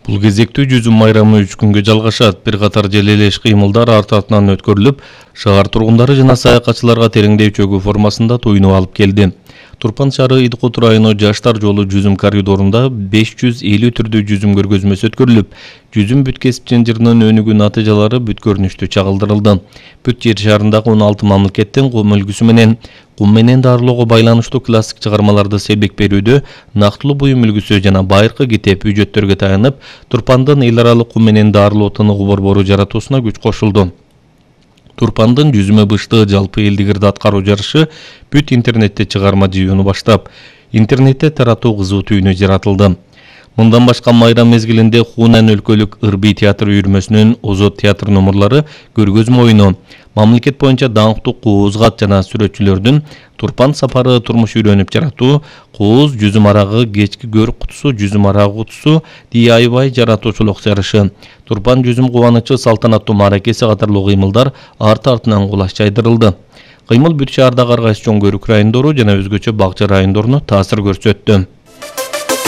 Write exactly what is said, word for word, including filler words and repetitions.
Бул кезектүү жүзүм майрамы үч күнгө жалгашат. Бир катар желелеш кыймылдар арт артынан өткөрүлүп, шаар тургундары жана саякатчыларга тереңдей чөгүү формасында туйнуп алып келди. Турпан шаары Идкут району Жаштар жолу жүзүм коридорунда беш жүз элүү түрдүү жүзүм көргөзмөсү өткөрүлүп, жүзүм бүт кесип жынжырынын өнүгүү натыйжалары бүт көрүнүштүү чагылдырылды. Бүт жер шарындагы он алты мамлекеттен кум үлгүсү менен кум менен дарылоого байланыштуу классик чыгармаларды сербик берүүдө нактылуу буюм үлгүсү жана байыркы китеп үжөттөргө таянып, Турпандын эл аралык кум менен дарылоо тыныгуу борбору жаратуусуна күч кошулду. Турпандын жүзүмө быштыгы жалпы элдик ырды аткаруу жарышы бүт интернетте чыгарма жыйууну баштап, интернетте таратуу кызуу түйүнү жаратылды. Мындан башка майрам мезгилинде Хунан өлкөлүк ырбий театр үйүрмөсүнүн Озот театр номурлары көргөзмө оюну, мамлекет боюнча даңктуу кооз-кат жана сүрөтчүлөрдүн Турпан сапары турмуш үйрөнүп жаратуу, кооз жүзүм арагы, кечки көрүк кутусу, жүзүм арагы кутусу, ди ай вай жаратуучулук жарышы, Турпан жүзүм кубанычы салтанаттуу мааракеси катарлуу кыймылдар арты-артынан кулаш жайдырылды. Кыймыл бүт шаардагы ар кайсы чоң көрүк райондору жана өзгөчө бакча райондоруна таасир көрсөттү.